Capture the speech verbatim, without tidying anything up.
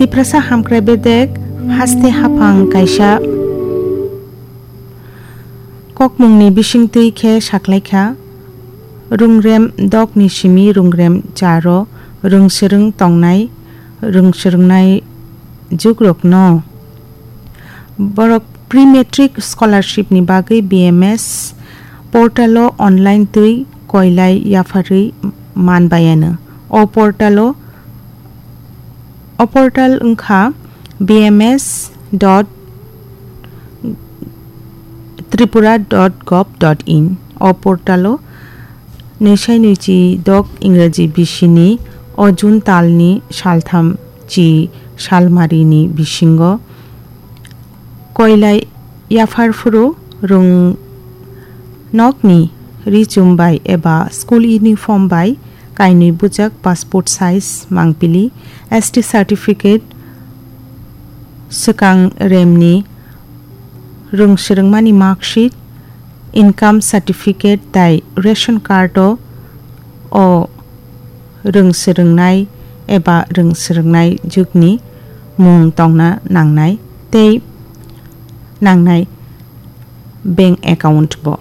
Tiprasa hamkrai bedek haste haphang kaisa kokmungni bisingtwi khe saklaikha, rungrem dokni simi rungrem charo rwngswrwng tongnai rwngswrwngnai jugrokno. Borok pre-matric scholarship ni bagwi B M S portal o online twi koilai yapharwi man bayano. O portal o, o portal wngkha B M S dot tripura dot gov dot in. O portal o nwisai nwichi dok Ingraji bisini o June talni saltham chi salmarini bisingo koilai yaphar phuru rung nokni richum bai eba school uniform bai kainwi bujak passport size mangpili, S T certificate, swkang remni rwngswrwngmani marksheet, income certificate tai ration card o, o rwngswrwngnai eba rwngswrwngnai jukni mung tongna nangnai tei nangnai bank account bo.